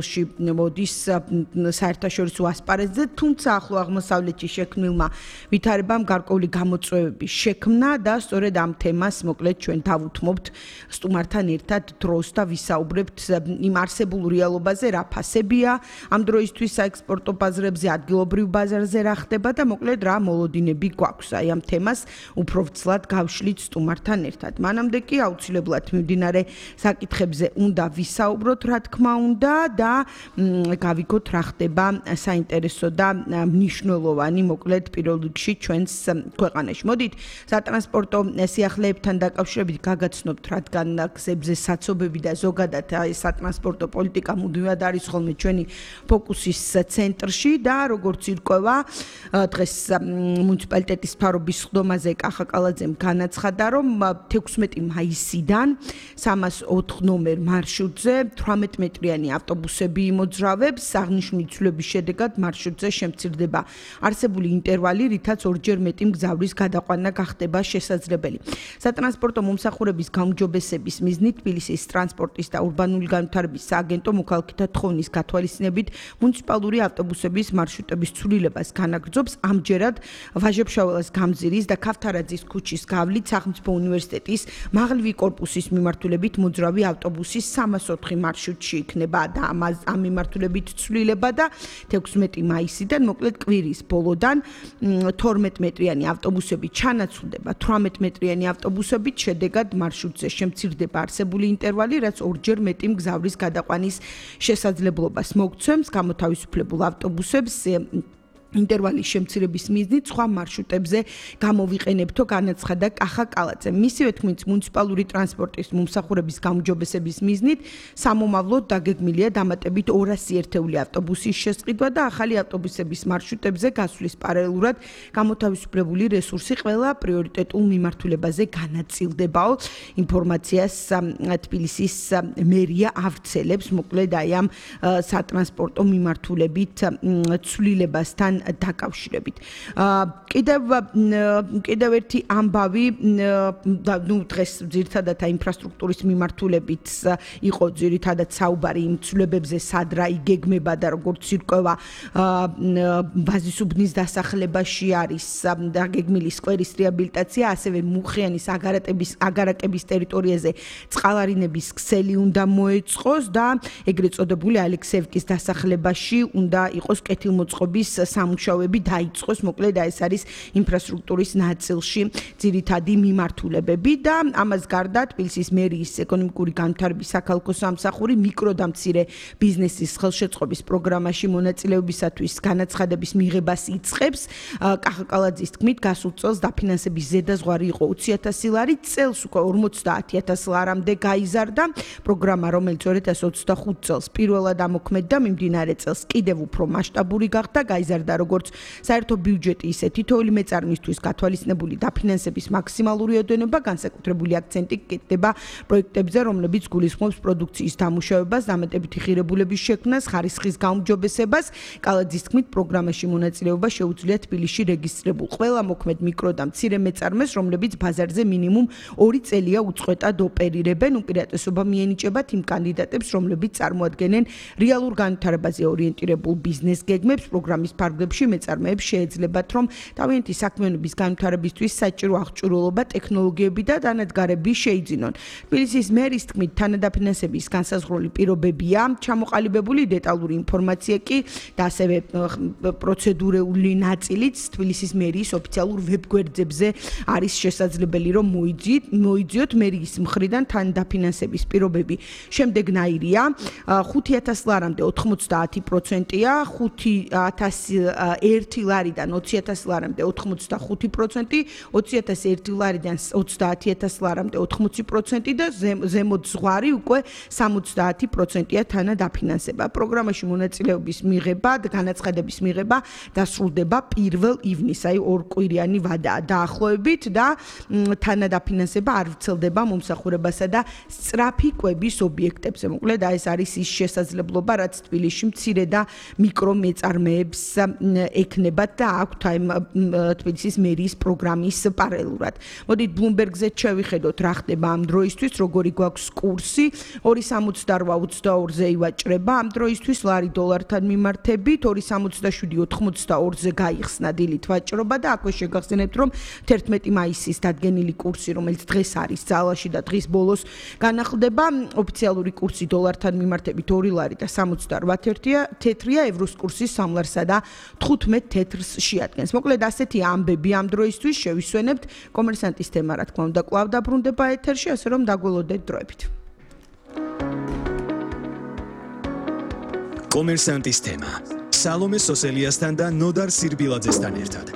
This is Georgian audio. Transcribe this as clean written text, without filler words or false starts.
მოდის საერთაშორისო ასპარეზზე, თუმცა ახლო აღმოსავლეთში შექმნილმა ვითარებამ გარკვეული გამოწვევების შექმნა და სწორედ ამ თემას მოკლედ ჩვენ დავუთმობთ სტუმართან ერთად დროს და ვისაუბრებთ იმ არსებულ რეალობაზე, რა ფასებია ამ დროისთვის საექსპორტო ბაზრებზე, ადგილობრივ ბაზარზე რა ხდება და მოკლედ რა მოლოდინები გვაქვს აი ამ თემას უფრო ვრცლად გავშლით სტუმართან ერთად. მანამდე კი აუცილებლად მიმდინარე საკითხებზე უნდა ვისაუბროთ, რა თქმა უნდა და გავიგოთ რა ხდება საინტერესო და მნიშვნელოვანი მოკლედ პირველ რიგში ჩვენს ქვეყანაში. მოდით სატრანსპორტო სიახლეებთან დაკავშირებით გაგაცნობთ, რადგან გზებზე საცობები და ზოგადად სატრანსპორტო პოლიტიკა მუდმივად არის ხოლმე ჩვენი ფოკუსის ცენტრში და როგორც ირკვევა დღეს მუნიციპალიტეტის მთავრობის სხდომაზე კახა კალაძემ განაცხადა, რომ 16 მაისიდან 304 ნომერ მარშრუტზე 18 მეტრიანი ავტობუსები იმოძრავებს, აღნიშნული ცვლილების შედეგად მარშრუტზე შემცირდება არსებული ინტერვალი, რითაც ორჯერ მეტი მგზავრის გადაყვანა გახდება შესაძლებელი. სატრანსპორტო მომსახურების გაუმჯობესების მიზნით თბილისის ტრანსპორტის და ურბანული განვითარების სააგენტო მოქალაქეთა თხოვნის გათვალისწინებით მუნიციპალური ავტობუსების მარშრუტების ცვლილებას განაგრძობს. ამჯერად ვაჟა-ფშაველას გამზირის და ქავთარაძის ქუჩის გავლით სახელმწიფო უნივერსიტეტის მაღლივი კორპუსის მიმართულებით მოძრავი ავტობუსის 304 მარშრუტში იქნება და ამ მიმართულებით ცვლილება და 16 მაისიდან მოკლედ კვირის ბოლოდან 12 მეტრიანი ავტობუსები ჩანაცვლდება 18 მეტრიანი ავტობუსებით, შედეგად მარშრუტზე შემცირდება არსებული ინტერვალი, რაც ორჯერ მეტი მგზავრის გადაყვანის შესაძლებლობას მოგცემს. გამოთავისუფლებულ ავტობუსებს ინტერვალის შემცირების მიზნით სხვა მარშრუტებზე გამოვიყენებთო განაცხადა კახა კალაძემ. მისივე თქმით, მუნიციპალური ტრანსპორტის მომსახურების გაუმჯობესების მიზნით სამომავლოდ დაგეგმილია დამატებით 200 ერთეული ავტობუსის შესყიდვა და ახალი ავტობუსების მარშრუტებზე გასვლის პარალელურად გამოთავისუფლებული რესურსი ყველა პრიორიტეტულ მიმართულებაზე განაწილდებაო. ინფორმაციას თბილისის მერია ავრცელებს მოკლედ აი ამ სატრანსპორტო მიმართულებით ცვლილებასთან დაკავშირებით. კიდევ ერთი ამბავი, დღეს ძირითადად ინფრასტრუქტურის მიმართულებით იყო ძირითადად საუბარი იმ ცვლილებებზე, სად რა იგეგმება და როგორც ირკვევა ბაზისუბნის დასახლებაში არის დაგეგმილი სკვერის რეაბილიტაცია, ასევე მუხიანის აგარაკების ტერიტორიაზე წყალარინების ქსელი უნდა მოეწყოს და ეგრეთ წოდებული ალექსეევკის დასახლებაში უნდა იყოს კეთილმოწყობის სამუშაოები დაიწყოს, მოკლედ ეს არის ინფრასტრუქტურის ნაწილში ძირითადი მიმართულებები და ამას გარდა თბილისის მერიის ეკონომიკური განვითარების საქალაქო სამსახური მიკრო და მცირე ბიზნესის ხელშეწყობის პროგრამაში მონაწილეობისათვის განაცხადების მიღებას იწყებს. კახა კალაძის თქმით, გასულ წელს დაფინანსების ზედაზღვარი იყო 20,000 ლარი, წელს უკვე 50,000 ლარამდე გაიზარდა. პროგრამა, რომელიც 2025 წელს პირველად ამოქმედდა, მიმდინარე წელს კიდევ უფრო მასშტაბური გახდა, გაიზარდა როგორც საერთო ბიუჯეტი, ისე თითოეული მეწარმისთვის გათვალისწინებული დაფინანსების მაქსიმალური ოდენობა, განსაკუთრებული აქცენტი კეთდება პროექტებზე, რომლებიც გულისხმობს პროდუქციის დამუშავებას, დამატებითი ღირებულების შექმნას, ხარისხის გაუმჯობესებას. კალაძის თქმით, პროგრამაში მონაწილეობა შეუძლია თბილისში რეგისტრირებულ ყველა მოქმედ მიკრო და მცირე მეწარმეს, რომლებიც ბაზარზე მინიმუმ 2 წელია უწყვეტად ოპერირებენ. უპირატესობა მიენიჭებათ იმ კანდიდატებს, რომლებიც წარმოადგენენ რეალურ განვითარებაზე ორიენტირებულ ბიზნეს გეგმებს. პროგრამის ფარგლებში მეწარმეებს შეეძლებათ, რომ თავიანთი საქმიანობის განვითარებისთვის საჭირო აღჭურვილობა, ტექნოლოგიები და დანადგარები შეიძინონ. თბილისის მერის თქმით, თანადაფინანსების განსაზღვრული პირობებია ჩამოყალიბებული, დეტალური ინფორმაცია კი და ასევე პროცედურული ნაწილიც თბილისის მერიის ოფიციალურ ვებგვერდებზე არის შესაძლებელი, რომ მოიძიოთ მერიის მხრიდან თანადაფინანსების პირობები. შემდეგნაირია 5,000 ლარამდე 90%-ია, 5,001 ლარიდან 20,000 ლარამდე 85%, 20,001 ლარიდან 30,000 ლარამდე 80% და ზემოთ ზღვარი უკვე 70%-ია თანადაფინანსება. პროგრამაში მონაწილეობის მიღება და განაცხადების მიღება დასრულდება 1 ივნისს, აი ორკვირიანი ვადაა დაახლოებით და თანადაფინანსება არ ვრცელდება მომსახურებასა და სწრაფი კვების ობიექტებზე. მოკლედ ეს არის ის შესაძლებლობა, რაც თბილისში მცირე და მიკრო მეწარმეებს ექნებათ და აქვთ აი თბილისის მერიის პროგრამის პარალელურად. მოდით Bloomberg-ზე შევიხედოთ რა ხდება ამ დროისთვის, როგორი გვაქვს კურსი 2.68-22-ზე ივაჭრება ამ დროისთვის ლარი დოლართან მიმართებით 2.67-82-ზე გაიხსნა დილით ვაჭრობა და აქვე შეგახსენებთ რომ 11 მაისის დადგენილი კურსი რომელიც დღეს არის ძალაში და დღის ბოლოს განახლდება ოფიციალური კურსი დოლართან მიმართებით 2 ლარი და 68 თეთრია ევროს კურსი 3 ლარსა და 15 თეთრს შეადგენს. მოკლედ ასეთი ამბები ამ დროისთვის შევისვენებთ კომერსანტის თემა რა თქმა უნდა კვლავ დაბრუნდება ეთერში ასე რომ დაგველოდეთ დროებით. კომერსანტის თემა სალომე სოსელიასთან და ნოდარ სირბილაძესთან ერთად.